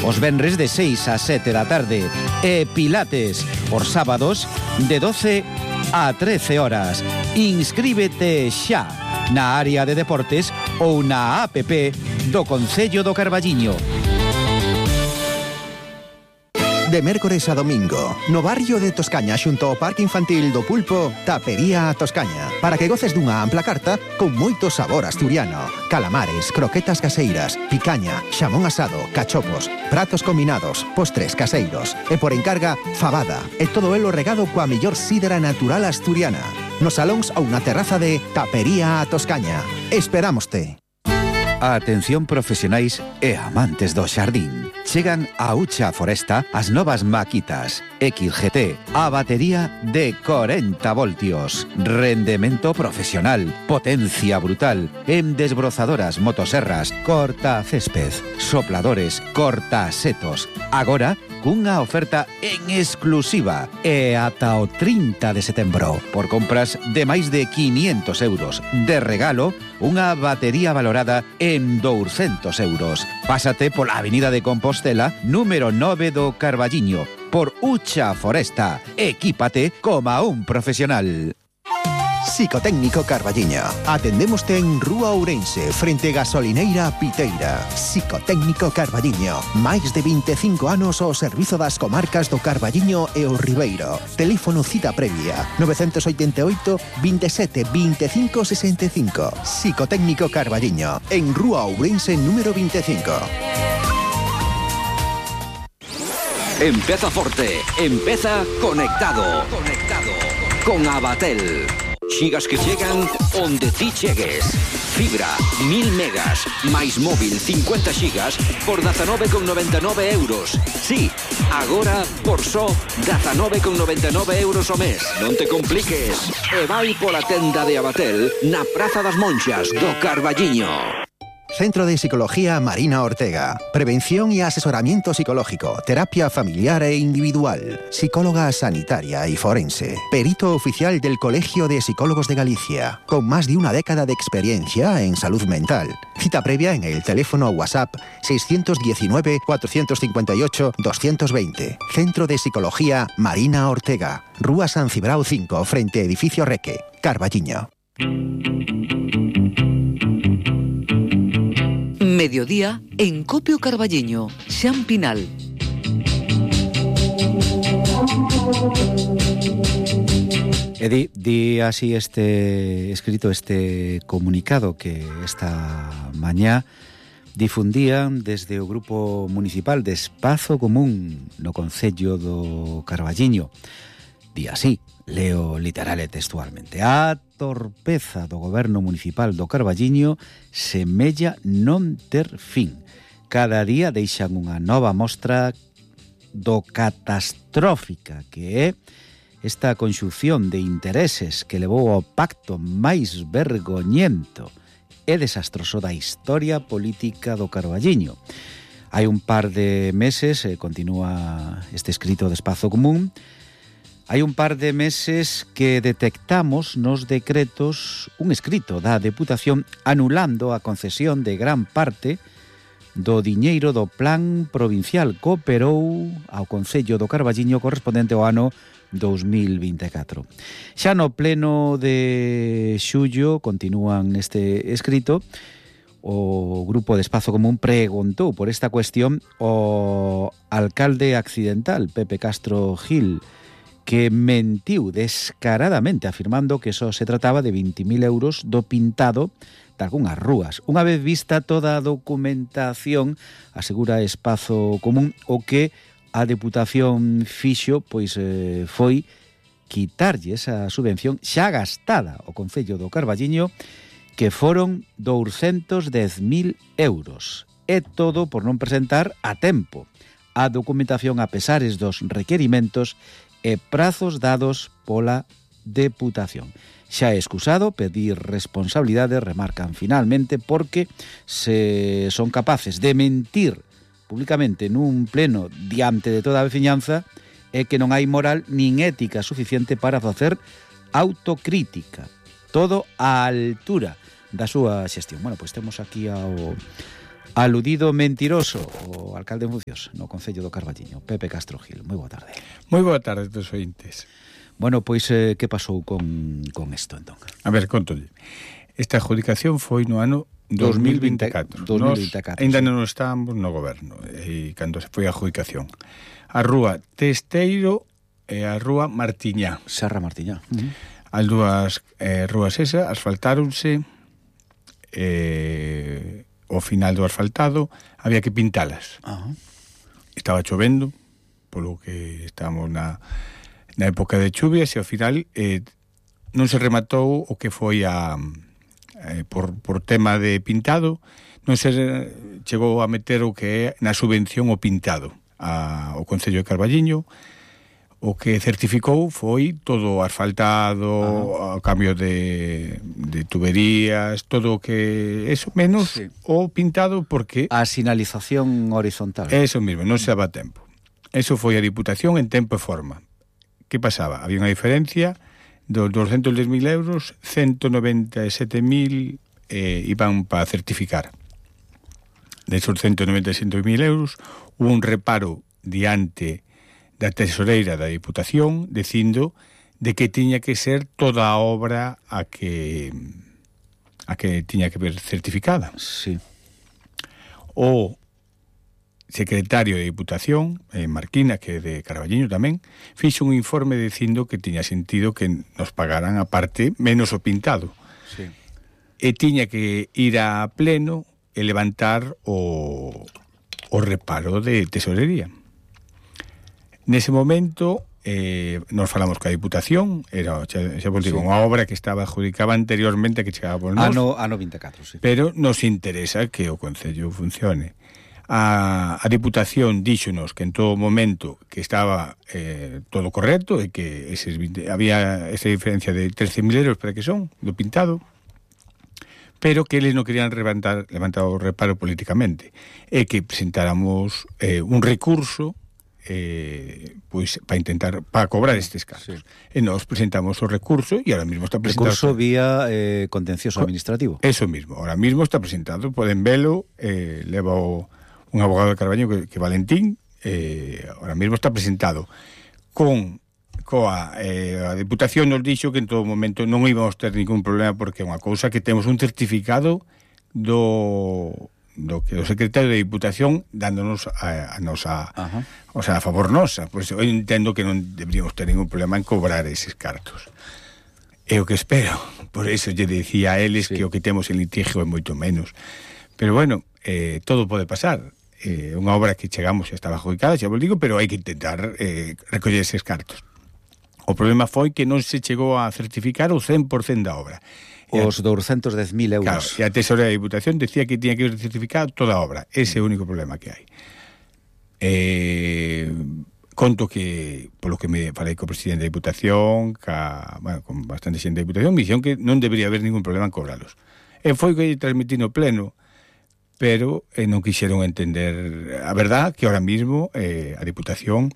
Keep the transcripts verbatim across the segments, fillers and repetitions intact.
os venres de seis a sete da tarde e Pilates os sábados de doce a trece horas. Inscríbete xa na área de deportes ou na app do Concello do Carballiño. De mércores a domingo, no barrio de Toscaña xunto ao Parque Infantil do Pulpo, Tapería a Toscaña, para que goces dunha ampla carta con moito sabor asturiano. Calamares, croquetas caseiras, picaña, xamón asado, cachopos, pratos combinados, postres caseiros e por encarga, fabada e todo elo regado coa mellor sídera natural asturiana. Nos salóns ou na terraza de Tapería a Toscaña. Esperámoste. Atención profesionais e amantes do xardín. Chegan a Ucha Foresta as novas maquitas X G T, a batería de corenta voltios, rendemento profesional, potencia brutal, en desbrozadoras, motoserras, corta césped, sopladores, corta setos. Agora, cunha oferta en exclusiva e ata o trinta de setembro. Por compras de máis de quinientos euros. De regalo, unha batería valorada en douscentos euros. Pásate pola Avenida de Compostela, número nove do Carballiño, por Ucha Foresta. Equípate como un profesional. Psicotécnico Carballiño. Atendémoste en Rúa Ourense, frente Gasolineira Piteira. Psicotécnico Carballiño. Máis de vinte e cinco anos ao servizo das comarcas do Carballiño e o Ribeiro. Teléfono cita previa nove oito oito, veintisiete, veinticinco sesenta y cinco. Psicotécnico Carballiño. En Rúa Ourense número veinticinco. Empeza forte, empeza conectado. Conectado con Abatel. Xigas que chegan onde ti chegues. Fibra, mil megas, máis móvil cincuenta xigas por dezanove con noventa e nove euros. Sí, agora por só dezanove con noventa e nove euros ao mes. Non te compliques. E vai pola tenda de Abatel na Praza das Monxas do Carballiño. Centro de Psicología Marina Ortega. Prevención y asesoramiento psicológico, terapia familiar e individual, psicóloga sanitaria y forense, perito oficial del Colegio de Psicólogos de Galicia, con más de una década de experiencia en salud mental. Cita previa en el teléfono WhatsApp seis uno nueve, cuatro cinco ocho, dos dos cero. Centro de Psicología Marina Ortega. Rúa San Cibrao cinco, frente Edificio Reque, Carballiño. Mediodía en Copio Carballiño, Xan Pinal. E di, di así este escrito, este comunicado que esta mañá difundían desde o Grupo Municipal de Espazo Común no Concello do Carballiño. Di así, leo literal e textualmente: a torpeza do goberno municipal do Carballiño semella non ter fin. Cada día deixan unha nova mostra do catastrófica que é esta conxunción de intereses que levou ao pacto máis vergoñento e desastroso da historia política do Carballiño. Hai un par de meses, eh, continúa este escrito de Espazo Común, hai un par de meses que detectamos nos decretos un escrito da Deputación anulando a concesión de gran parte do diñeiro do Plan Provincial que operou ao Concello do Carballiño correspondente ao ano dos mil vinte e catro. Xa no pleno de xullo, continúan neste escrito, o Grupo de Espazo Común preguntou por esta cuestión ao alcalde accidental, Pepe Castro Gil, que mentiu descaradamente afirmando que só se trataba de vinte mil euros do pintado de algunhas rúas. Unha vez vista toda a documentación, asegura Espazo Común, o que a Deputación fixo pois eh, foi quitarlle esa subvención xa gastada ao Concello do Carballiño, que foron douscentos dez mil euros. E todo por non presentar a tempo a documentación a pesares dos requerimentos e prazos dados pola Deputación. Xa é excusado pedir responsabilidade, remarcan finalmente, porque se son capaces de mentir públicamente nun pleno diante de toda a veciñanza, é que non hai moral nin ética suficiente para facer autocrítica. Todo á altura da súa xestión. Bueno, pois temos aquí ao Aludido mentiroso, o alcalde en funcións no Concello do Carballiño, Pepe Castro Gil. Moi boa tarde. Moi boa tarde, dos ointes. Bueno, pois, eh, que pasou con, con isto, entón? A ver, contolle. Esta adjudicación foi no ano dos mil vinte e catro. dos mil vinte e catro, Ainda sí. non estábamos no goberno, e cando se foi a adjudicación. A rúa Testeiro e a rúa Martiñá. Serra Martiñá. Uh-huh. As dúas eh, rúas esas asfaltáronse, eh, ao final do asfaltado había que pintalas. Uh-huh. Estaba chovendo, polo que estábamos na, na época de chuvias, e ao final eh, non se rematou o que foi a eh, por, por tema de pintado, non se chegou a meter o que é na subvención o pintado a, o Concello de Carballiño. O que certificou foi todo asfaltado, uh-huh. o cambio de, de tuberías, todo o que... Eso, menos sí. o pintado, porque... A sinalización horizontal. Eso mismo, non se daba tempo. Eso foi a Diputación en tempo e forma. Que pasaba? Había unha diferencia dos doscientos dez mil euros, ciento noventa e sete mil eh, iban para certificar. De esos ciento noventa e sete mil euros, hubo un reparo diante da tesoreira da Diputación dicindo de que tiña que ser toda a obra a que a que tiña que ver certificada. Sí. O secretario de Diputación, eh, Marquina, que é de Carballiño tamén, fixo un informe dicindo que tiña sentido que nos pagaran a parte menos o pintado. Sí. E tiña que ir a pleno e levantar o, o reparo de tesorería. Nese momento eh, nos falamos ca Diputación, era, xa, xa vos digo, sí. unha obra que estaba adjudicada anteriormente que chegaba por nós. Ano, ano vinte e catro, sí. Pero nos interesa que o Concello funcione. A, a Diputación díxonos que en todo momento que estaba eh, todo correcto e que eses veinte, había esa diferencia de trece mil euros para que son, do pintado, pero que eles non querían levantar, levantar o reparo políticamente, e que presentáramos eh, un recurso eh, pois para intentar para cobrar estes cargos. Sí. E nós presentamos o recurso e ahora mismo está presentado. Recurso vía eh, contencioso administrativo. Eso mismo, ahora mismo está presentado, poden velo, eh, leva o, un abogado de Carballiño que, que Valentín, eh, ahora mismo está presentado con coa eh, a Diputación nos dixo que en todo momento non íbamos ter ningún problema porque é unha cousa que temos un certificado do do que o secretario de Diputación dándonos a, a nosa, uh-huh. o sea, a favor nosa. Pois eu entendo que non deberíamos ter ningún problema en cobrar eses cartos. É o que espero. Por eso lle decía a eles sí. que o que temos en litigio é moito menos. Pero bueno, eh, todo pode pasar. Eh, unha obra que chegamos xa estaba adjudicada, xa vos digo, pero hai que intentar eh, recoller eses cartos. O problema foi que non se chegou a certificar o cen por cento da obra. Os doscientos dez mil euros. Claro, e a tesoreira da Diputación decía que tiña que certificar toda a obra. Ese é o único problema que hai. Eh, conto que, polo que me falei co presidente da Diputación, ca, bueno, con bastante xente da Diputación, me dixeron que non debería haber ningún problema en cobralos. E foi que transmití no pleno, pero eh, non quixeron entender a verdad que ahora mismo eh, a Diputación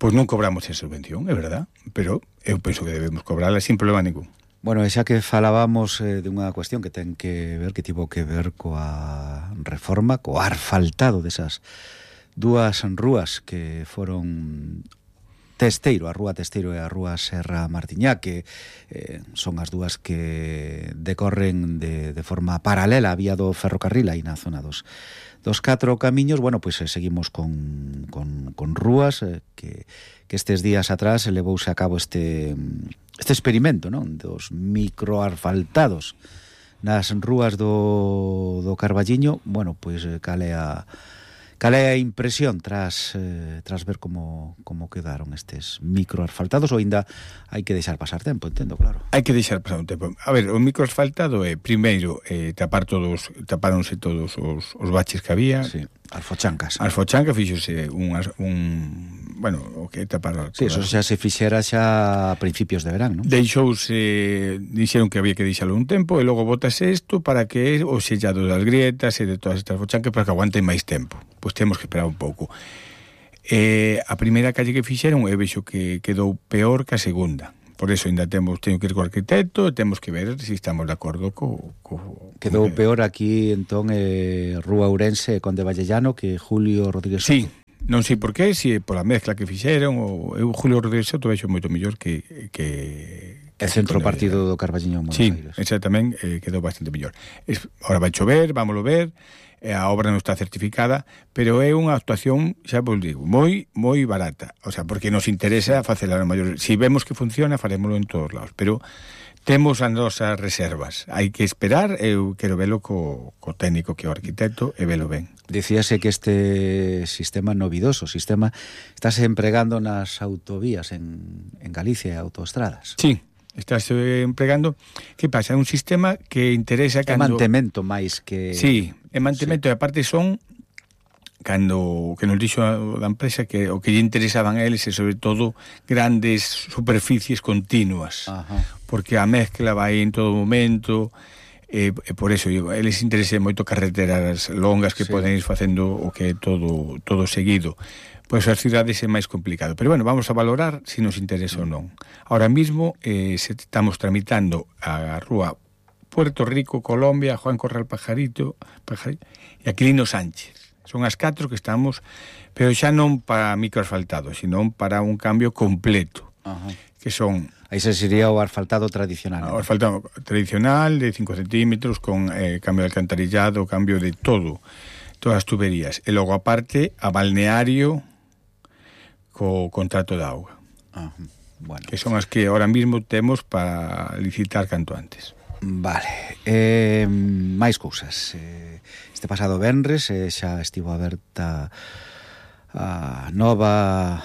pois non cobramos esa subvención, é verdad, pero eu penso que debemos cobrarla sin problema ningún. Bueno, xa que falábamos eh, de unha cuestión que ten que ver, que tivo que ver coa reforma, coa asfaltado desas dúas rúas que foron Testeiro, a rúa Testeiro e a rúa Serra Martiñá, que eh, son as dúas que decorren de, de forma paralela a vía do ferrocarril aí na zona dos, dos catro camiños. Bueno, pois pues, eh, seguimos con, con, con rúas eh, que, que estes días atrás levouse a cabo este... este experimento, non? Dos microasfaltados nas rúas do, do Carballiño. Bueno, pois cal é a cal é a impresión tras eh, tras ver como como quedaron estes microasfaltados, ou ainda hai que deixar pasar tempo, entendo, claro. Hai que deixar pasar un tempo. A ver, o microasfaltado é primeiro eh, tapar todos, tapáronse todos os, os baches que había. Sí, as fochancas. As fochancas fíxose un, un bueno, o que tapar... Sí, eso xa se fixera xa a principios de verán, non? Deixouse, dixeron que había que deixalo un tempo e logo botase isto para que o sellado das grietas e de todas estas fochancas para que aguanten máis tempo. Pois temos que esperar un pouco. Eh, a primeira calle que fixeron eu vexo que quedou peor que a segunda, por eso ainda temos, teño que ir co arquitecto, temos que ver se si estamos de acordo co... co Quedou co... peor aquí, entón, eh, Rúa Ourense e Conde Vallellano que Julio Rodríguez Soto. Sí, non sei por qué, se si pola mezcla que fixeron, ou eu Julio Rodríguez Soto vexo moito mellor que... que É centro partido do Carballiño en Buenos sí, Aires. Sí, exactamente, eh, quedou bastante mellor. Es, ahora vai chover, vámoslo ver, eh, a obra non está certificada, pero é unha actuación, xa vos digo, moi moi barata. O sea, porque nos interesa facela a maior. Si vemos que funciona, farémoslo en todos lados, pero temos as nosas reservas. Hai que esperar, eu quero velo co, co técnico que é o arquitecto e velo ben. Dicíase que este sistema novidoso, sistema, estáse empregando nas autovías en, en Galicia e autoestradas. Sí, estás empregando. Que pasa? É un sistema que interesa cando... É mantemento máis que... Sí, é mantemento, sí. E aparte son cando que nos dixo a, a empresa que o que lle interesaban a eles é sobre todo grandes superficies continuas. Ajá. Porque a mezcla vai en todo momento, e, e por eso eles interesa moito carreteras longas que sí. Poden ir facendo o que é todo, todo seguido. Pois as cidades é máis complicado. Pero bueno, vamos a valorar se nos interesa ou non. Ahora mismo eh, se estamos tramitando a rúa Puerto Rico, Colombia, Juan Corral Pajarito, Pajarito e Aquilino Sánchez. Son as catro que estamos, pero xa non para microasfaltado, sino para un cambio completo. Ajá. Que son... Aí se sería o asfaltado tradicional. O asfaltado tradicional de cinco centímetros con eh, cambio de alcantarillado, cambio de todo, todas as tuberías. E logo aparte a balneario co contrato de auga. Ajá. Bueno. Que son as que ahora mismo temos para licitar canto antes. Vale. Eh, máis cousas. Eh, este pasado venres eh, xa estivo aberta a nova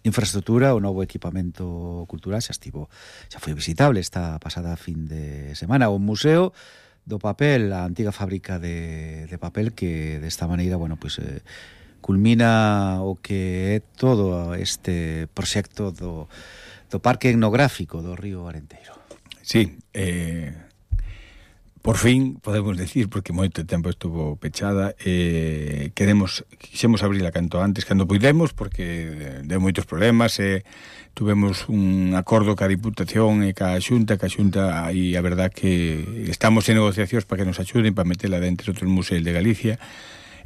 infraestructura, o novo equipamento cultural, xa estivo, xa foi visitable esta pasada fin de semana o Museo do Papel, a antiga fábrica de, de papel que desta maneira, bueno, pois pues, eh, culmina o que é todo este proxecto do, do Parque Etnográfico do Río Arenteiro. Sí, eh, por fin, podemos decir, porque moito tempo estuvo pechada, eh, queremos, quixemos abrirla canto antes, cando puidemos, porque deu moitos problemas, e eh, tuvemos un acordo ca Diputación e ca Xunta, ca Xunta, e a verdad que estamos en negociacións para que nos axuden para metela dentro dos museos de Galicia,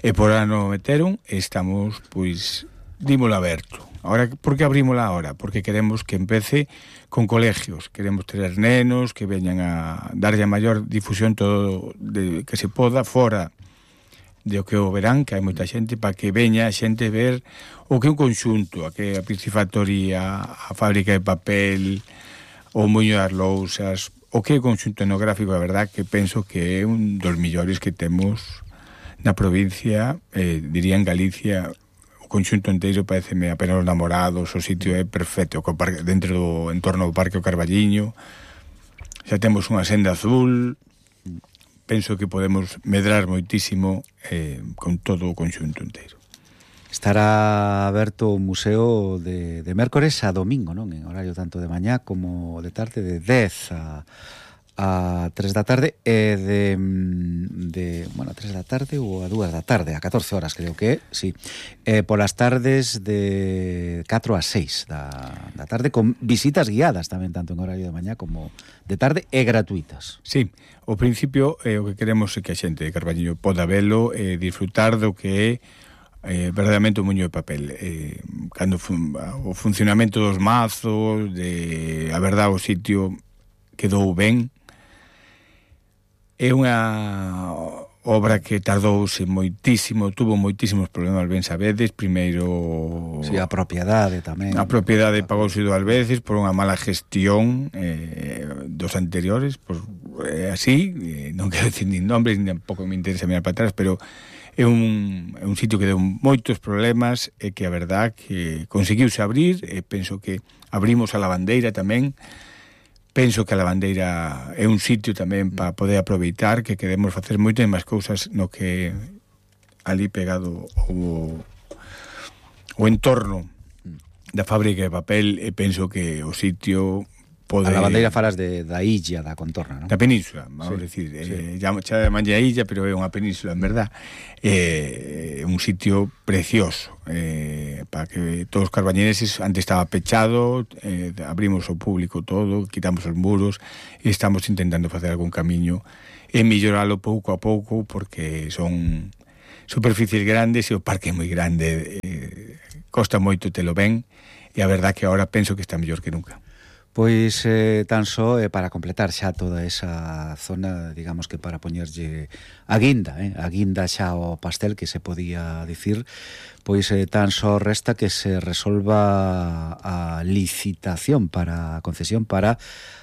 e por ano meteron, estamos, pois, dímolo aberto. Ahora, por que abrímola ahora? Porque queremos que empece con colegios, queremos ter nenos que veñan a darlle a maior difusión todo de, que se poda fora de o que o verán, que hai moita xente, para que veña a xente ver o que é un conxunto, a que a piscifactoría, a fábrica de papel, o muño das lousas, o que é o conxunto etnográfico, a verdad que penso que é un dos millores que temos na provincia, eh, diría en Galicia. O conxunto inteiro pareceme apenas os namorados, o sitio é perfecto, co parque, dentro do entorno do Parque o Carballiño, xa temos unha senda azul, penso que podemos medrar moitísimo eh, con todo o conxunto inteiro. Estará aberto o museo de, de mércores a domingo, non? En horario tanto de mañá como de tarde, de dez a... a tres da tarde e de, de bueno, a tres da tarde ou a dúas da tarde, a catorce horas creo que é, sí. Eh, polas tardes de catro a seis da, da tarde, con visitas guiadas tamén, tanto en horario de mañá como de tarde, e gratuitas. Sí, ao principio eh, o que queremos é que a xente de Carballiño poda velo e eh, disfrutar do que é eh, verdadeiramente o muño de papel. Eh, cando fun, o funcionamento dos mazos, de a verdade o sitio quedou ben. É unha obra que tardouse moitísimo, tuvo moitísimos problemas, ben sabedes, primeiro... Si, sí, a propiedade tamén. A propiedade pagouse dúas veces por unha mala gestión eh, dos anteriores, por, eh, así, eh, non quero dicir nin nombres, nin tampouco me interesa mirar para atrás, pero é un, é un sitio que deu moitos problemas e que a verdad que conseguiuse abrir, e penso que abrimos a lavandeira tamén. Penso que a lavandeira é un sitio tamén para poder aproveitar, que queremos facer moitas máis cousas no que ali pegado o, o entorno da fábrica de papel, e penso que o sitio pode... A lavandeira falas de, da illa, da contorna, non? Da península, vamos sí, decir. Sí. Eh, ya chamanlle a illa, pero é unha península, en verdad. É eh, un sitio precioso. Eh, para que todos os carbañeses, antes estaba pechado, eh, abrimos ao público todo, quitamos os muros, e estamos intentando facer algún camiño e melloralo pouco a pouco, porque son superficies grandes e o parque é moi grande, eh, costa moito telo ben, e a verdad que agora penso que está mellor que nunca. Pois eh, tan só eh, para completar xa toda esa zona, digamos que para poñerlle a guinda, eh, a guinda xa ao pastel que se podía dicir, pois eh, tan só resta que se resolva a licitación para a concesión para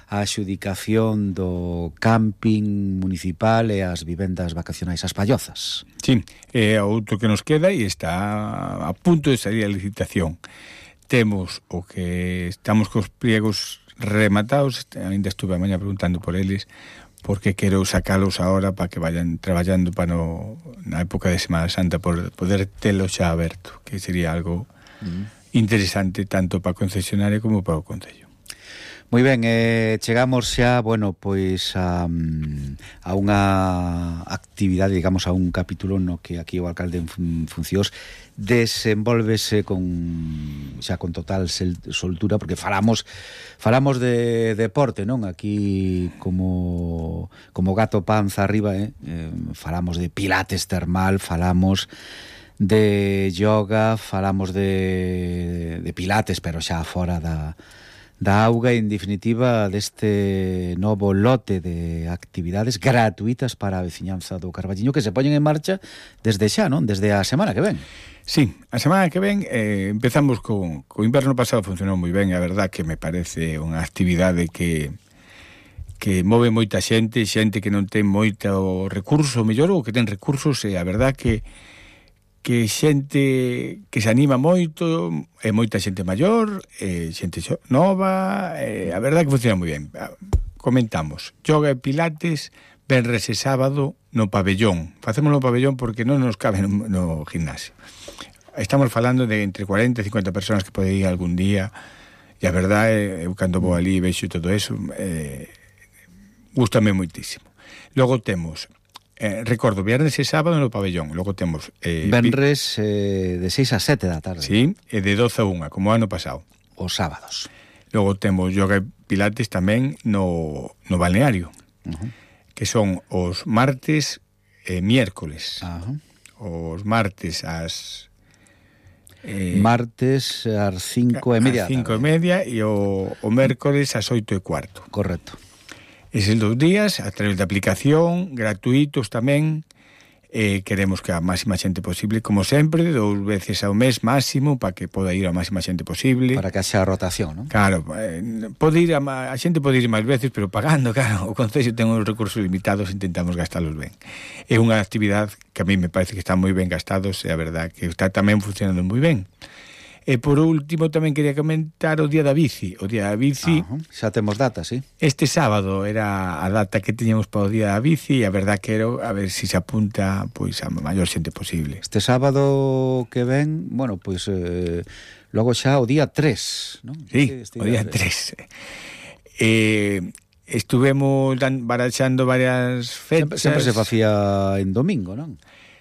a adxudicación do camping municipal e as vivendas vacacionais as Pallozas. Sí, é eh, outro que nos queda e está a punto de salir a licitación. Temos o que estamos cos pliegos rematados, ainda estuve a mañá preguntando por eles, porque quero sacalos ahora para que vayan traballando para no, na época de Semana Santa por poder telo xa aberto, que sería algo mm. interesante tanto para a concesionaria como para o Concello. Moi ben, eh, chegamos xa, bueno, pois a, a unha actividade, digamos, a un capítulo no que aquí o alcalde en fun, funcións desenvolvese con xa con total soltura, porque falamos falamos de deporte, non? Aquí como como gato panza arriba, eh? eh falamos de pilates termal, falamos de yoga, falamos de, de pilates, pero xa fora da da auga, en definitiva, deste novo lote de actividades gratuitas para a veciñanza do Carballiño que se poñen en marcha desde xa, non? Desde a semana que ven. Sí, a semana que ven eh, empezamos con o inverno pasado, funcionou moi ben, a verdad que me parece unha actividade que que move moita xente, xente que non ten moito recurso, mellor, ou que ten recursos, e a verdad que que xente que se anima moito, e moita xente maior, e xente nova, e a verdad que funciona moi ben. Comentamos, yoga e pilates, venres e sábado no pabellón. Facemos no pabellón porque non nos cabe no, no gimnasio. Estamos falando de entre cuarenta e cincuenta personas que pode ir algún día, e a verdad, eu cando vou ali e vexo todo eso, eh, gústame moitísimo. Logo temos... Eh, recordo, viernes e sábado no pabellón. Logo temos... Eh, Venres eh, de seis a sete da tarde. Sí, e de doce a unha, como ano pasado. Os sábados. Logo temos yoga e pilates tamén no, no balneario, uh-huh. que son os martes e miércoles. Uh-huh. Os martes ás... Eh, martes ás cinco e media. Ás cinco e media e o, o mércoles ás oito e cuarto. Correcto. Eses dos días, a través de aplicación, gratuitos tamén, eh, queremos que a máxima xente posible, como sempre, dous veces ao mes máximo, para que poda ir a máxima xente posible. Para que haxa rotación, non? Claro, eh, pode ir a, a xente pode ir máis veces, pero pagando, claro, o Concello ten uns recursos limitados, intentamos gastalos ben. É unha actividade que a mí me parece que está moi ben gastados, e a verdad que está tamén funcionando moi ben. E por último tamén quería comentar o Día da Bici. O Día da Bici... Ajá, xa temos data, sí. Este sábado era a data que teñamos para o Día da Bici, e a verdad que era a ver se si se apunta pois a maior xente posible. Este sábado que ven, bueno, pois eh, logo xa o día tres, non? Sí, este, este o día tres. Eh, estuvemos dan, baraxando varias fechas. Sempre, sempre se facía en domingo, non?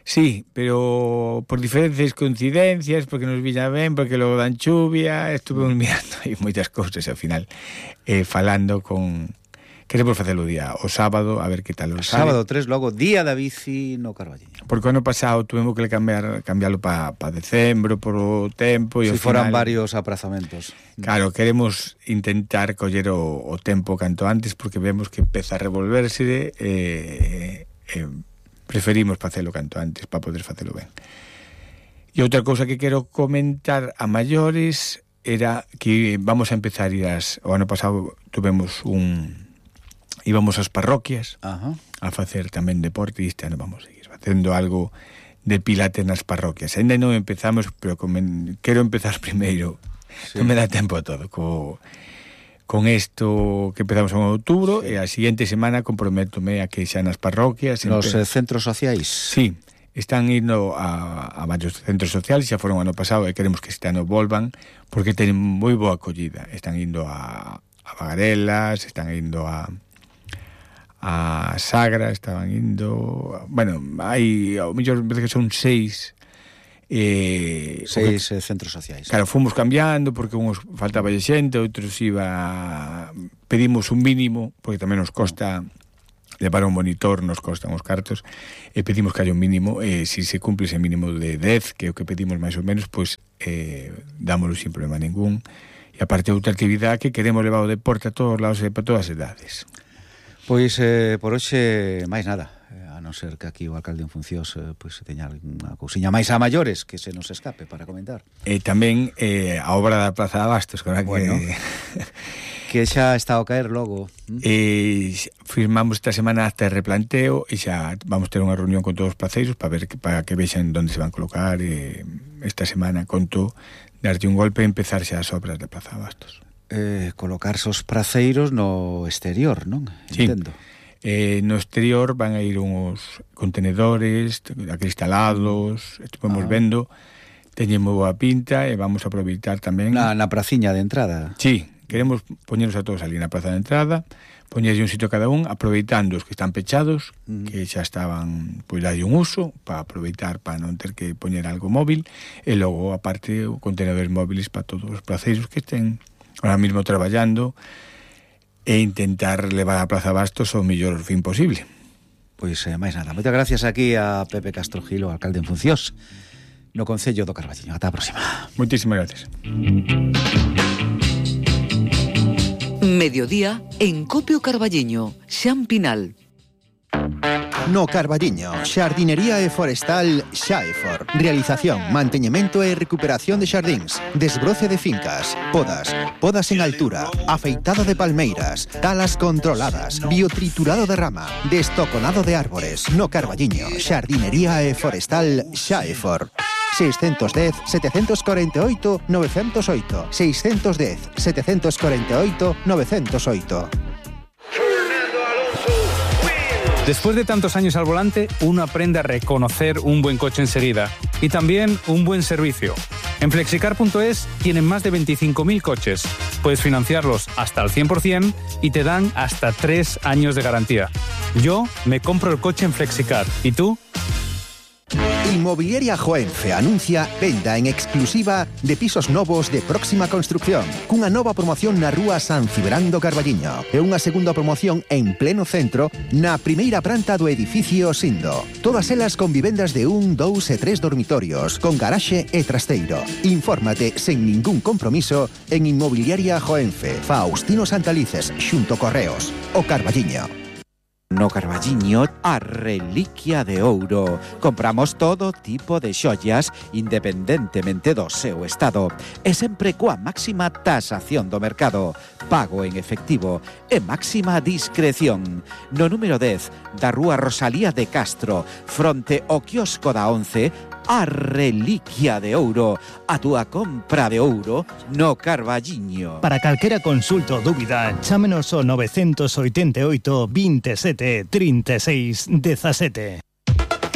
Sí, pero por diferentes coincidencias, porque nos viña ben, porque logo dan chuvia, estuve mirando aí moitas cousas, ao final, eh, falando con... Queremos facelo o día, o sábado, a ver que tal o sábado tres, logo Día da Bici no Carballiño. Porque o ano pasado tuvemos que cambiar cambiarlo para pa decembro, por o tempo, e si ao foran final, varios aprazamentos. Claro, queremos intentar coller o, o tempo canto antes, porque vemos que empeza a revolverse, e... Eh, eh, preferimos facelo canto antes para poder facelo ben. E outra cousa que quero comentar a maiores era que vamos a empezar a ir as... O ano pasado tuvemos un... íbamos ás parroquias. Ajá. A facer tamén deporte, e este ano vamos a seguir facendo algo de pilates nas parroquias. Ainda non empezamos, pero comen... quero empezar primeiro. Sí. Non me dá tempo a todo. Co... Con isto que empezamos en outubro, sí. E a seguinte semana comprométome a que xa nas parroquias... Nos empe... centros sociais? Sí, están indo a, a varios centros sociais, xa foron ano pasado, e queremos que este ano volvan, porque teñen moi boa acollida. Están indo a, a Bagarelas, están indo a a Sagra, estaban indo, bueno, hai ao mellor veces que son seis eh, seis porque, centros sociais. Claro, fomos cambiando porque uns faltaba xente, outros iba, pedimos un mínimo porque tamén nos costa levar un monitor, nos costan os cartos, e pedimos que haya un mínimo, e se se cumple ese mínimo de dez, que é o que pedimos máis ou menos, pois eh, dámoslo sin problema ningún. E aparte outra actividade que queremos levar o deporte a todos os lados e para todas as edades. Pois eh, por hoxe máis nada, a non ser que aquí o alcalde en funcións eh, pois teña unha cousiña máis a maiores que se nos escape para comentar. E tamén eh, a obra da Praza de Abastos, que bueno, que xa está ao caer logo. E firmamos esta semana hasta de replanteo e xa vamos ter unha reunión con todos os placeiros para ver que, para que vexan onde se van colocar, e esta semana conto darlle un golpe e empezar xa as obras da Praza de Abastos. Eh, colocarse os praceiros no exterior, non? Sí. Entendo. Eh, no exterior van a ir uns contenedores acristalados, estuvemos ah. vendo, teñen moi boa pinta e vamos a aproveitar tamén na, na praciña de entrada. Sí, queremos poñeros a todos ali na praza de entrada, poñerlle un sitio cada un, aproveitando os que están pechados, mm. que xa estaban, pois darlle un uso para aproveitar, para non ter que poñer algo móvil, e logo aparte contenedores móviles para todos os placeiros que estén ahora mismo traballando e intentar levar a Praza Bastos ao mellor fin posible. Pois eh, máis nada. Moitas gracias aquí a Pepe Castro Gil, o alcalde en funcións no Concello do Carballiño. Ata a próxima. Moitísimas gracias. Mediodía en Copio Carballiño, Xan Pinal. No Carballiño, xardinería e forestal Xaefor. Realización, manteñemento e recuperación de xardíns, desbroce de fincas, podas, podas en altura, afeitado de palmeiras, talas controladas, biotriturado de rama, destoconado de árbores. No Carballiño, xardinería e forestal Xaefor. seis uno cero, sete cuatro oito, nove zero oito seis uno cero, sete cuatro oito, nove cero oito. Después de tantos años al volante, uno aprende a reconocer un buen coche enseguida y también un buen servicio. En Flexicar punto es tienen más de veinticinco mil coches. Puedes financiarlos hasta al cien por ciento y te dan hasta tres años de garantía. Yo me compro el coche en Flexicar. ¿Y tú? Inmobiliaria Joenfe anuncia venda en exclusiva de pisos novos de próxima construcción, cunha nova promoción na rúa San Cibrán do Carballiño e unha segunda promoción en pleno centro na primeira planta do edificio Sindo. Todas elas con vivendas de un, dous e tres dormitorios, con garaxe e trasteiro. Infórmate sen ningún compromiso en Inmobiliaria Joenfe, Faustino Santalices, xunto Correos, o Carballiño. No Carballiño, a reliquia de ouro. Compramos todo tipo de xollas independentemente do seu estado e sempre coa máxima tasación do mercado, pago en efectivo e máxima discreción. No número dez da rúa Rosalía de Castro, fronte ao quiosco da once, a reliquia de ouro, a túa compra de ouro no Carballiño. Para calquera consulta ou dúbida, chámenos ao nove oito oito, veintisiete, trinta e seis, dezasete.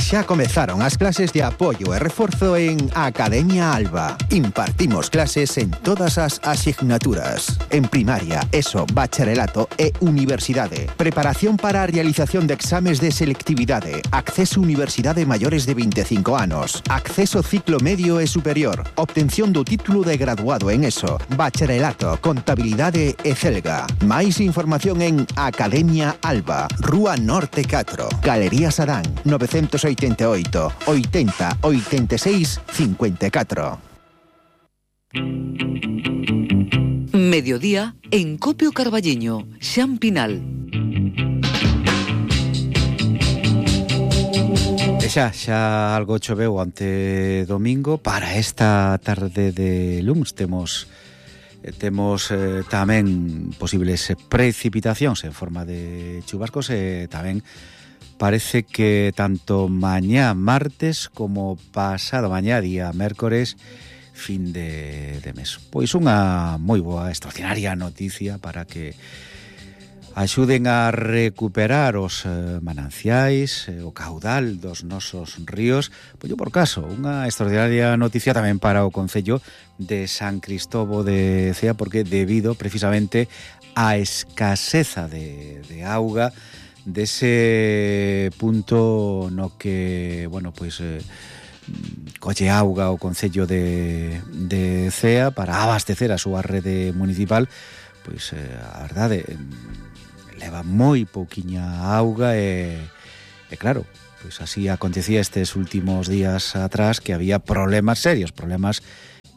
Xa comezaron as clases de apoio e reforzo en Academia Alba. Impartimos clases en todas as asignaturas. En primaria, ESO, bacharelato e universidade. Preparación para a realización de exames de selectividade. Acceso a universidade maiores de veinticinco anos. Acceso ciclo medio e superior. Obtención do título de graduado en ESO, bacharelato, contabilidade e celga. Máis información en Academia Alba, Rúa Norte catro, Galería Sadán, novecientos oitenta e oito, oitenta, oitenta e seis, cincuenta e catro. Mediodía en Copio Carballiño, Xan Pinal. E xa, xa algo choveu ante domingo. Para esta tarde de luns temos temos eh, tamén posibles precipitacións en forma de chubascos e tamén parece que tanto mañá martes como pasado mañá día mércores fin de, de mes. Pois unha moi boa, extraordinaria noticia para que axuden a recuperar os eh, mananciais, eh, o caudal dos nosos ríos. Pois por caso, unha extraordinaria noticia tamén para o concello de San Cristovo de Cea, porque debido precisamente á escaseza de, de auga dese punto no que, bueno, pois eh, colle auga o concello de, de Cea para abastecer a súa rede municipal, pois eh, a verdade leva moi pouquiña auga e, e claro, pois así acontecía estes últimos días atrás, que había problemas serios, problemas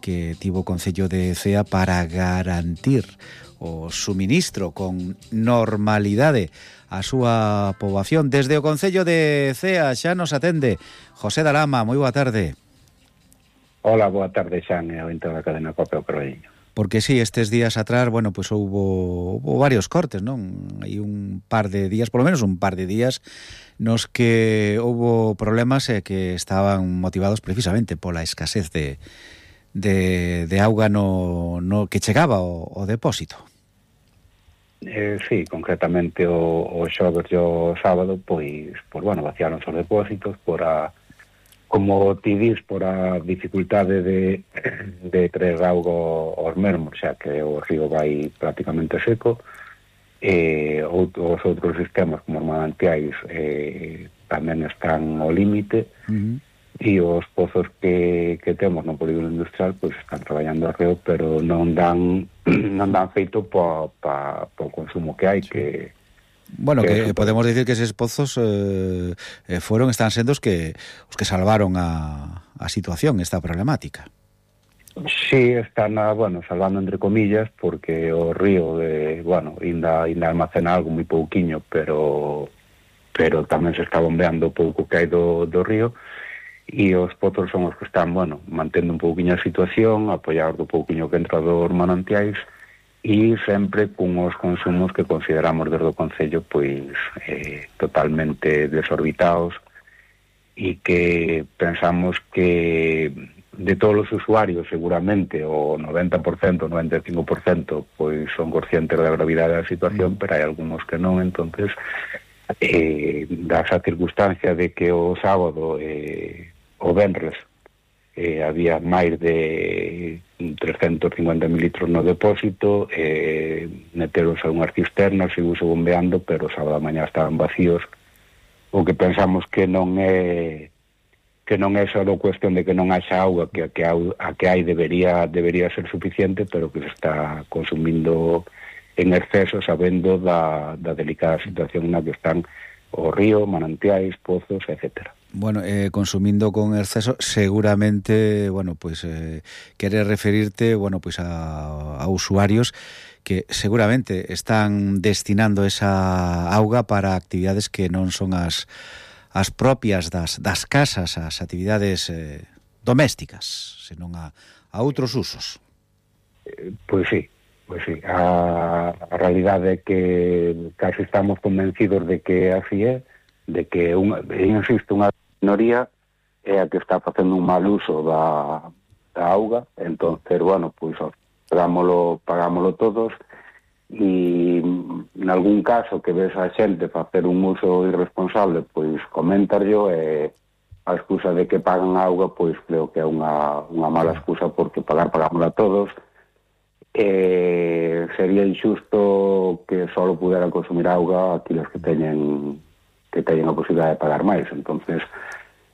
que tivo o concello de Cea para garantir o suministro con normalidade a súa poboación. Desde o concello de Cea xa nos atende José Dalama. Moi boa tarde. Hola, boa tarde, Xan, e ao entrar da cadena Cope o Carballiño. Porque sí, estes días atrás, bueno, pues houbo, houbo varios cortes, non? Hai un par de días, polo menos un par de días, nos que houbo problemas eh, que estaban motivados precisamente pola escasez de, de, de auga no, no que chegaba o, o depósito. Eh, sí, concretamente o, o xoves e o sábado, pois, pois, bueno, vaciaron os depósitos por a... como ti dis, por a dificultade de, de traer auga aos mesmos, xa que o río vai prácticamente seco, e os outros sistemas como os manantiais eh, tamén están ao límite, uh-huh. E os pozos que, que temos no polígono industrial pois están traballando ao río, pero non dan non dan feito po, pa, po consumo que hai, sí. que Bueno, que, que podemos decir que eses pozos eh, eh, foron, están sendo os que os que salvaron a, a situación, esta problemática. Sí, están, a, bueno, salvando entre comillas, porque o río, de, bueno, ainda, ainda almacena algo moi pouquiño, pero pero tamén se está bombeando pouco que hai do, do río, e os pozos son os que están, bueno, mantendo un pouquiño a situación, apoiar do pouquiño que entra dos manantiais, e sempre cunhos consumos que consideramos desde o concello pois eh, totalmente desorbitados, e que pensamos que de todos os usuarios seguramente o noventa por cento, noventa e cinco por cento pois son conscientes da gravidade da situación, pero hai algúns que non. Entonces eh, da esa circunstancia de que o sábado eh, o venres Eh, había máis de trescentos cincuenta mil litros no depósito, eh, meteros a unhas cisternas, seguuse bombeando, pero sábado a mañá estaban vacíos. O que pensamos que non é que non é só cuestión de que non haxa auga, que a que, a que hai debería debería ser suficiente, pero que se está consumindo en exceso, sabendo da, da delicada situación na que están o río, manantiais, pozos, etcétera. Bueno, eh, consumindo con exceso, seguramente, bueno, pues eh, queres referirte, bueno, pues a, a usuarios que seguramente están destinando esa auga para actividades que non son as as propias das, das casas, as actividades eh, domésticas, senón a, a outros usos. Eh, pois sí, pois sí. A, a realidade é que casi estamos convencidos de que así é, de que, unha, insisto, unha minoría é a que está facendo un mal uso da, da auga. Entonces, bueno, pois pagámolo, pagámolo todos, e en algún caso que ves a xente facer un uso irresponsable, pois comentarlo, e a excusa de que pagan auga, pois creo que é unha, unha mala excusa, porque pagar pagámola todos. Eh, sería injusto que só pudera consumir auga aqueles que teñen que teñen a posibilidade de pagar máis. Entonces,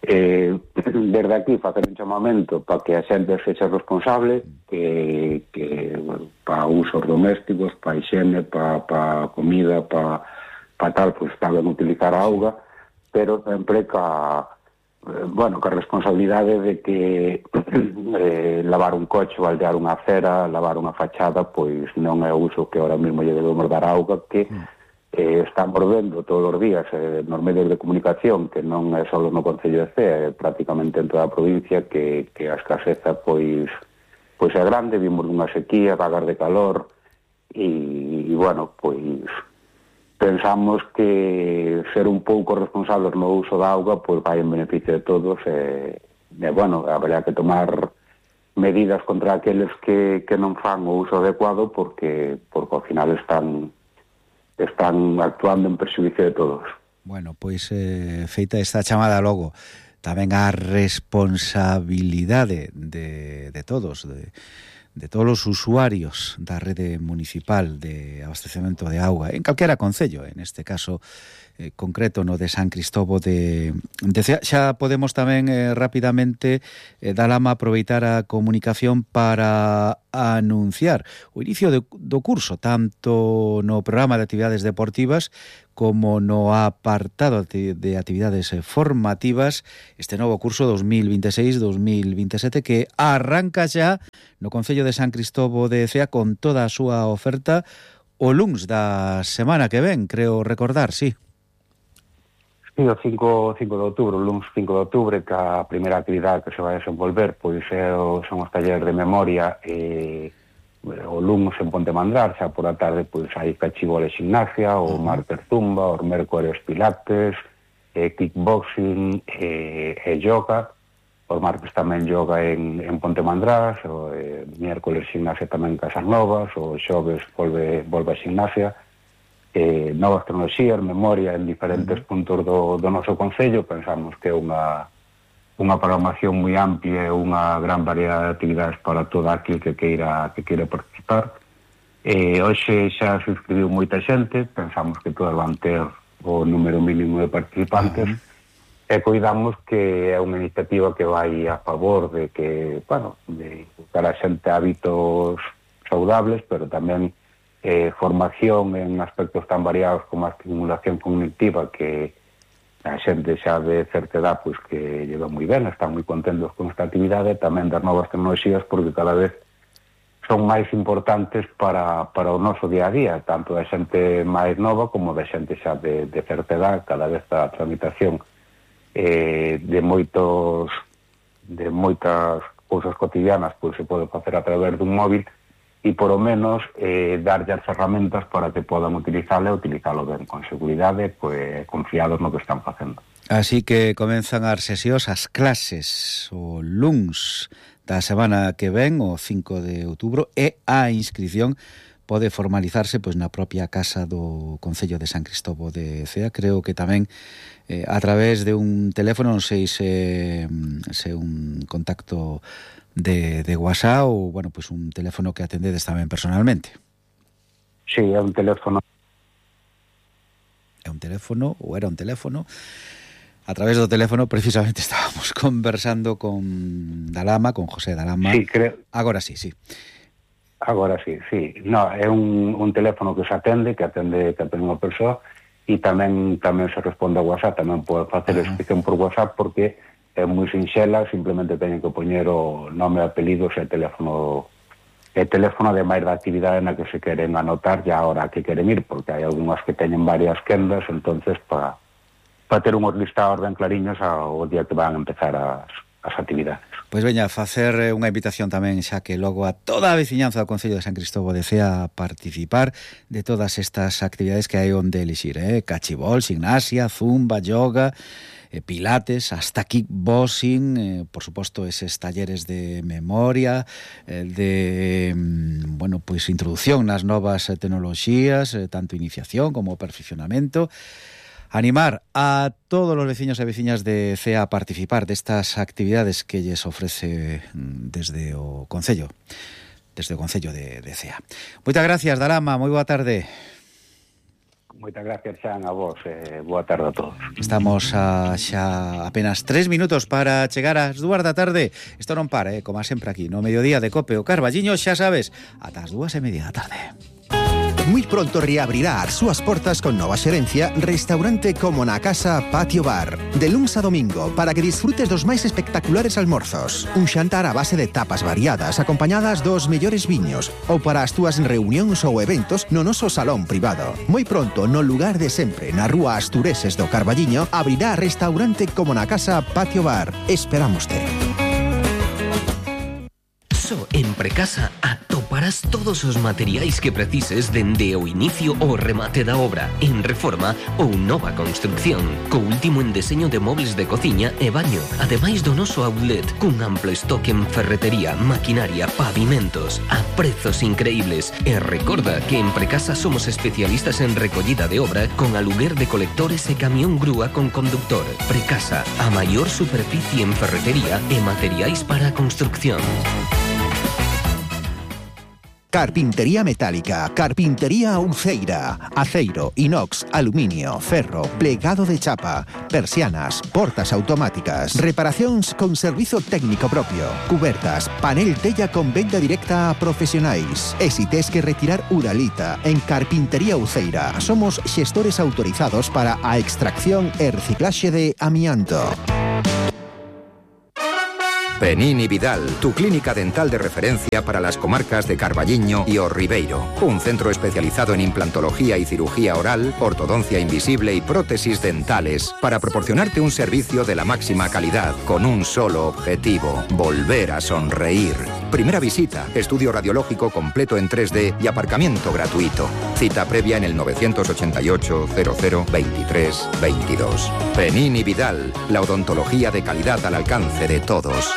eh, desde aquí facer un chamamento para que a xente sexa responsable, que, que bueno, para usos domésticos, para higiene, para, para comida, para, para tal, pues saben utilizar a auga, pero sempre ca, eh, bueno, ca responsabilidade de que eh, lavar un coche, baldear unha acera, lavar unha fachada, pois non é o uso que ahora mesmo lle debemos dar a auga, que eh, estamos vendo todos os días eh, nos medios de comunicación, que non é só no Concello de Cea, é prácticamente en toda a provincia, que, que a escaseza pois pois é grande. Vimos unha sequía, vagas de calor, e, e bueno, pois pensamos que ser un pouco responsables no uso da auga pois vai en beneficio de todos, e, e bueno, haberá que tomar medidas contra aqueles que, que non fan o uso adecuado, porque, porque ao final están están actuando en perxuízo de todos. Bueno, pois eh, feita esta chamada logo, tamén a responsabilidade de, de todos, de, de todos os usuarios da rede municipal de abastecemento de auga, en calquera concello, en este caso eh, concreto no de San Cristobo de, de Cea. Xa podemos tamén eh, rapidamente eh, Dalama aproveitar a comunicación para anunciar o inicio de, do curso, tanto no programa de actividades deportivas como no apartado de actividades formativas, este novo curso dos mil veintiséis dos mil veintisiete que arranca xa no Concello de San Cristobo de Cea con toda a súa oferta o luns da semana que ven, creo recordar, sí. Sí, o cinco de outubro, o luns cinco de outubro, que a primeira actividade que se vai desenvolver pois é, son os talleres de memoria e o luns en Ponte Mandrar, xa por a tarde pois hai cachibol e gimnasia, o martes zumba, os mércores pilates, e kickboxing e, e yoga, os martes tamén yoga en, en Ponte Mandrar, o e, miércoles gimnasia tamén en Casas Novas, o xoves volve, volve a gimnasia, e, novas tecnoloxías, memoria en diferentes puntos do, do noso concello. Pensamos que é unha unha programación moi amplia e unha gran variedade de actividades para todo aquel que queira que queira participar. E hoxe xa se inscribiu moita xente, pensamos que todas van ter o número mínimo de participantes, uh-huh. e coidamos que é unha iniciativa que vai a favor de que, bueno, de buscar a xente hábitos saudables, pero tamén eh, formación en aspectos tan variados como a estimulación cognitiva, que a xente xa de certa edad pois que lleva moi ben, están moi contentos con esta actividade, tamén das novas tecnoloxías, porque cada vez son máis importantes para, para o noso día a día, tanto da xente máis nova como da xente xa de, de certa edad. Cada vez a tramitación eh, de moitos de moitas cousas cotidianas pois se pode facer a través dun móvil, e por o menos eh, darlle as ferramentas para que podan utilizalo e utilizalo ben, con seguridade, pues, confiados no que están facendo. Así que comenzan as sesións, as clases, o luns da semana que ven, o cinco de outubro, e a inscripción pode formalizarse pois na propia casa do Concello de San Cristobo de Cea. Creo que tamén eh, a través de un teléfono, non sei se, se un contacto de, de WhatsApp ou, bueno, pois un teléfono que atendedes tamén personalmente. Sí, é un teléfono. É un teléfono, ou era un teléfono. A través do teléfono, precisamente, estábamos conversando con Dalama, con José Dalama. Sí, creo. Agora sí, sí. Agora sí, sí. No, é un, un teléfono que se atende, que atende, que atende unha persoa, e tamén tamén se responde a WhatsApp, tamén pode facer a inscripción por WhatsApp, porque é moi sinxela, simplemente teñen que poñer o nome e apelidos e teléfono e teléfono de máis da actividade na que se queren anotar ya a hora que queren ir, porque hai algunhas que teñen varias quendas, entonces para pa ter unhos listados ben clariños ao día que van a empezar as, as actividades. Pois veña, facer unha invitación tamén xa que logo a toda a veciñanza do Concello de San Cristobo de Cea a participar de todas estas actividades que hai onde elixir, eh? Cachibol, gimnasia, zumba, yoga, eh, pilates, hasta kickboxing, eh, por suposto eses talleres de memoria, eh, de, bueno, pois introducción nas novas tecnoloxías, eh, tanto iniciación como perfeccionamento. Animar a todos os veciños e veciñas de Cea a participar destas actividades que lles ofrece desde o Concello, desde o Concello de, de Cea. Moitas gracias, Dalama, moi boa tarde. Moitas gracias, Xan, a vos, eh, boa tarde a todos. Estamos a xa apenas tres minutos para chegar ás dúas da tarde. Isto non para, eh, como sempre aquí, no mediodía de Cope o Carballiño, xa sabes, ata as dúas e media da tarde. Muy pronto reabrirá as súas portas con nova xerencia Restaurante Como na Casa Patio Bar. De luns a domingo, para que disfrutes dos máis espectaculares almorzos. Un xantar a base de tapas variadas, acompañadas dos mellores viños, ou para as túas reunións ou eventos no noso salón privado. Moi pronto, no lugar de sempre, na rúa Astureses do Carballiño, abrirá Restaurante Como na Casa Patio Bar. Esperámoste. iso, en Precasa atoparás todos os materiais que precises dende o inicio ao remate da obra, en reforma ou nova construcción, co último en deseño de mobles de cociña e baño, ademais do noso outlet, cun amplo estoque en ferretería, maquinaria, pavimentos, a prezos increíbles. E recorda que en Precasa somos especialistas en recollida de obra con aluguer de colectores e camión grúa con conductor. Precasa, a maior superficie en ferretería e materiais para a construcción. Carpintería metálica, carpintería Uceira, aceiro, inox, aluminio, ferro, plegado de chapa, persianas, portas automáticas, reparacións con servizo técnico propio, cubertas, panel tella con venda directa a profesionais. E si tes que retirar uralita, en Carpintería Uceira somos xestores autorizados para a extracción e reciclaxe de amianto. Penini Vidal, tu clínica dental de referencia para las comarcas de Carballiño y O Ribeiro. Un centro especializado en implantología y cirugía oral, ortodoncia invisible y prótesis dentales para proporcionarte un servicio de la máxima calidad con un solo objetivo: volver a sonreír. Primera visita, estudio radiológico completo en tres D y aparcamiento gratuito. Cita previa en el novecientos ochenta y ocho, cero cero, veintitrés, veintidós. Penini Vidal, la odontología de calidad al alcance de todos.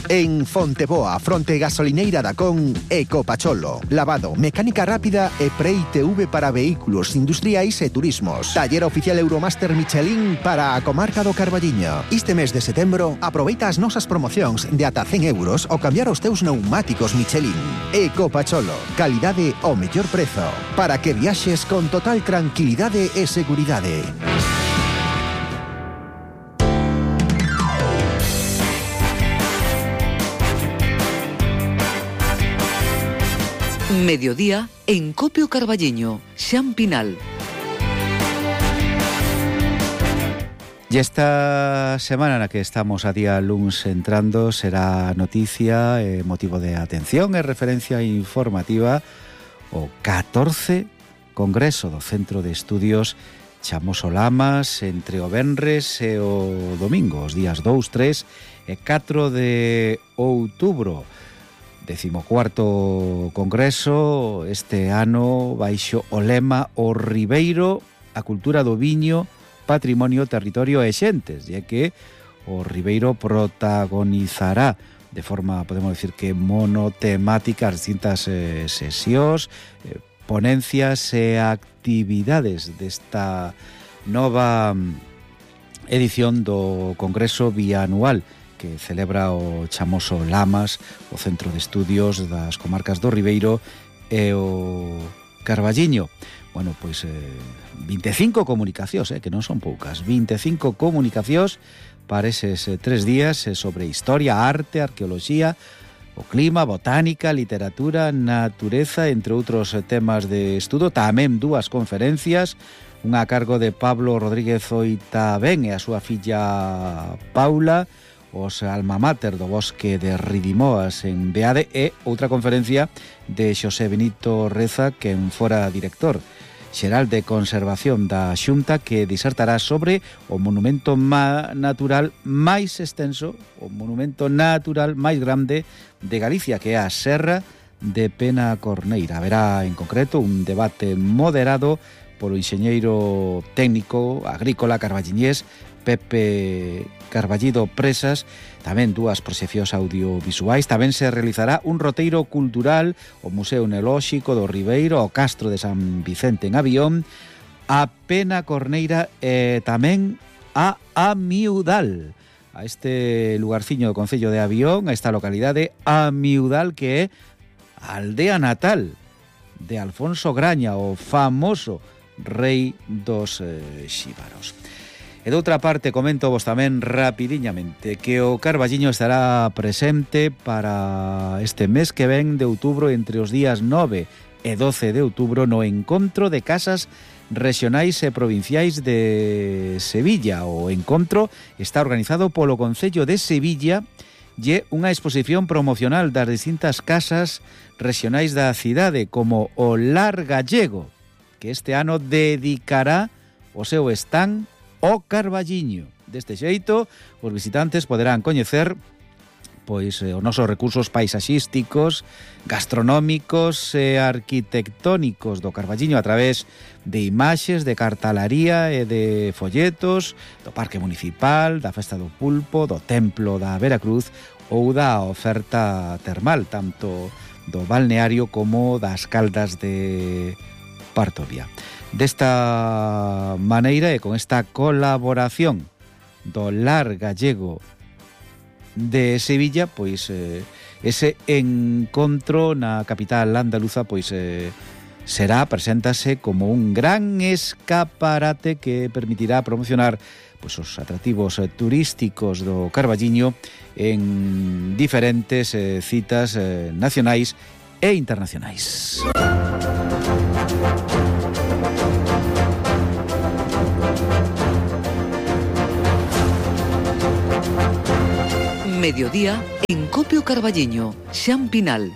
En Fonteboa, fronte gasolineira da Con, Ecopacholo. Lavado, mecánica rápida e Prei T V para vehículos industriais e turismos. Taller oficial Euromaster Michelin para a comarca do Carballiño. Este mes de setembro, aproveita as nosas promocións de ata cen euros ao cambiar os teus neumáticos Michelin. Ecopacholo, calidade ao mellor prezo, para que viaxes con total tranquilidade e seguridade. Mediodía en Copio Carballiño, Xan Pinal. Y esta semana na que estamos a día luns entrando será noticia, eh, motivo de atención e referencia informativa o catorce Congreso do Centro de Estudios Chamoso Lamas entre o venres e o domingo, os días dous, tres e catro de outubro. Decimocuarto Congreso este ano baixo o lema O Ribeiro, a cultura do viño, patrimonio, territorio e xentes, e que o Ribeiro protagonizará de forma, podemos decir que monotemática, as distintas eh, sesións, eh, ponencias e actividades desta nova edición do Congreso bianual que celebra o Chamoso Lamas, o Centro de Estudios das Comarcas do Ribeiro e o Carballiño. Bueno, pois eh, vinte e cinco comunicacións, eh, que non son poucas, vinte e cinco comunicacións para eses eh, tres días eh, sobre historia, arte, arqueoloxía, o clima, botánica, literatura, natureza, entre outros eh, temas de estudo. Tamén dúas conferencias, unha a cargo de Pablo Rodríguez Oitabén e a súa filla Paula, os alma mater do Bosque de Ridimoas en Beade, e outra conferencia de Xosé Benito Reza, quen fora director xeral de conservación da Xunta, que disertará sobre o monumento natural máis extenso, o monumento natural máis grande de Galicia, que é a Serra de Penacorneira. Haberá en concreto un debate moderado polo enxeñeiro técnico agrícola carballiñés Pepe Carballido Presas, tamén dúas proxeccións audiovisuais. Tamén se realizará un roteiro cultural o Museo Neolóxico do Ribeiro, o Castro de San Vicente en Avión, a Penacorneira e tamén a Amiudal, a este lugarciño do concello de Avión, a esta localidade Amiudal, que é a aldea natal de Alfonso Graña, o famoso rei dos eh, xíbaros. E doutra parte, comento vos tamén rapidiñamente que o Carballiño estará presente para este mes que ven de outubro, entre os días nove e doce de outubro, no Encontro de Casas Regionais e Provinciais de Sevilla. O encontro está organizado polo Concello de Sevilla e unha exposición promocional das distintas casas regionais da cidade, como o Lar Gallego, que este ano dedicará o seu stand o Carballiño. Deste xeito, os visitantes poderán coñecer pois eh, os nosos recursos paisaxísticos, gastronómicos e arquitectónicos do Carballiño a través de imaxes, de cartalaría e de folletos do Parque Municipal, da Festa do Pulpo, do Templo da Veracruz ou da oferta termal, tanto do balneario como das Caldas de Partovia. Desta maneira e con esta colaboración do Lar Gallego de Sevilla, pois eh, ese encontro na capital andaluza pois eh, será, preséntase como un gran escaparate que permitirá promocionar pois os atractivos eh, turísticos do Carballiño en diferentes eh, citas eh, nacionais e internacionais. Mediodía en Copio Carballiño, Xan Pinal.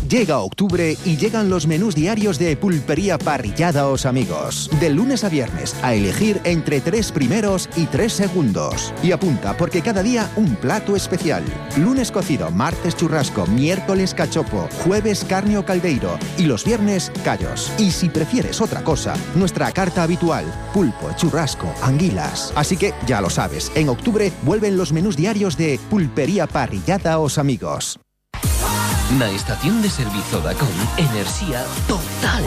Llega octubre y llegan los menús diarios de Pulpería Parrillada Os Amigos. De lunes a viernes, a elegir entre tres primeros y tres segundos. Y apunta, porque cada día un plato especial. Lunes cocido, martes churrasco, miércoles cachopo, jueves carne o caldeiro y los viernes callos. Y si prefieres otra cosa, nuestra carta habitual, pulpo, churrasco, anguilas. Así que ya lo sabes, en octubre vuelven los menús diarios de Pulpería Parrillada Os Amigos. Na estación de servizo Dacón, enerxía total,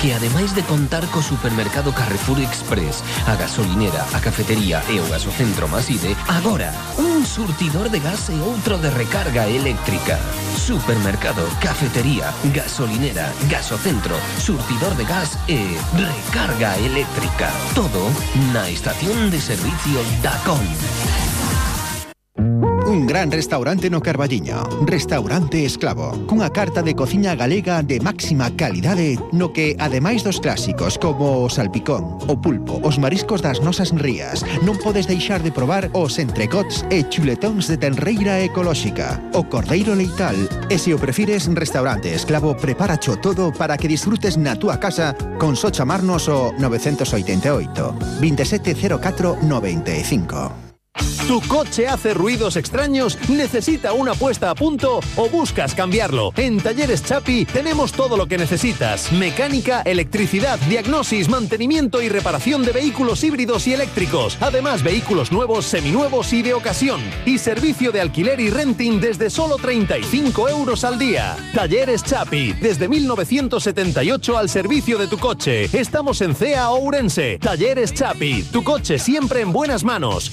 que ademais de contar co supermercado Carrefour Express, a gasolinera, a cafetería e o gasocentro Maside, agora un surtidor de gas e outro de recarga eléctrica. Supermercado, cafetería, gasolinera, gasocentro, surtidor de gas e recarga eléctrica. Todo na estación de servicio Dacón. Un gran restaurante no Carballiño, Restaurante Esclavo, cunha carta de cociña galega de máxima calidade no que, ademais dos clásicos como o salpicón, o pulpo, os mariscos das nosas rías, non podes deixar de probar os entrecots e chuletóns de tenreira ecolóxica, o cordeiro leital, e se o prefires, Restaurante Esclavo preparacho todo para que disfrutes na túa casa con só chamarnos o nove oito oito, veintisiete cero catro noventa e cinco. ¿Tu coche hace ruidos extraños? ¿Necesita una puesta a punto o buscas cambiarlo? En Talleres Chapi tenemos todo lo que necesitas. Mecánica, electricidad, diagnosis, mantenimiento y reparación de vehículos híbridos y eléctricos. Además, vehículos nuevos, seminuevos y de ocasión. Y servicio de alquiler y renting desde solo treinta y cinco euros al día. Talleres Chapi, desde mil novecientos setenta y ocho al servicio de tu coche. Estamos en Cea, Ourense. Talleres Chapi, tu coche siempre en buenas manos.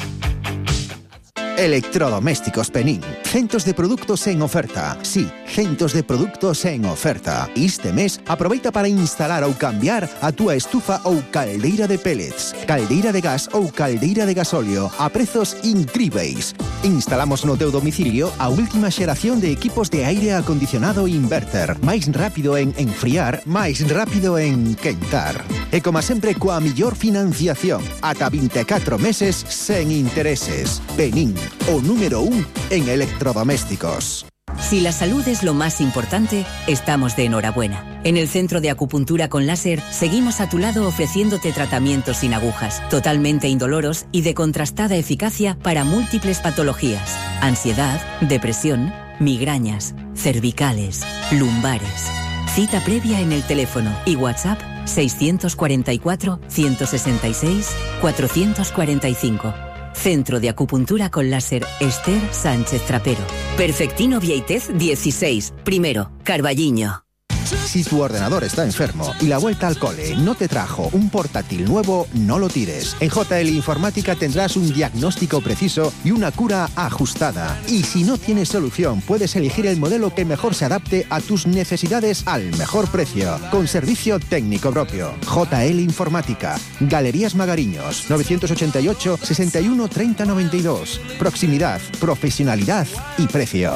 Electrodomésticos Penín. Centos de produtos en oferta. Sí, centos de produtos en oferta. Este mes, aproveita para instalar ou cambiar a túa estufa ou caldeira de pellets, caldeira de gas ou caldeira de gasóleo a prezos incríveis. Instalamos no teu domicilio a última xeración de equipos de aire acondicionado inverter. Máis rápido en enfriar, máis rápido en quentar. E como sempre, coa millor financiación. Ata vinte e catro meses sen intereses. Penín, o número un en electrodomésticos. Si la salud es lo más importante, estamos de enhorabuena. En el Centro de Acupuntura con Láser seguimos a tu lado ofreciéndote tratamientos sin agujas, totalmente indoloros y de contrastada eficacia para múltiples patologías: ansiedad, depresión, migrañas, cervicales, lumbares. Cita previa en el teléfono y WhatsApp seiscientos cuarenta y cuatro, ciento sesenta y seis, cuatrocientos cuarenta y cinco. Centro de Acupuntura con Láser Esther Sánchez Trapero. Perfectino Vieitez dieciséis, primero, Carballiño. Si tu ordenador está enfermo y la vuelta al cole no te trajo un portátil nuevo, no lo tires. En J L Informática tendrás un diagnóstico preciso y una cura ajustada. Y si no tienes solución, puedes elegir el modelo que mejor se adapte a tus necesidades al mejor precio, con servicio técnico propio. J L Informática, Galerías Magariños, novecientos ochenta y ocho, sesenta y uno, treinta, noventa y dos. Proximidad, profesionalidad y precio.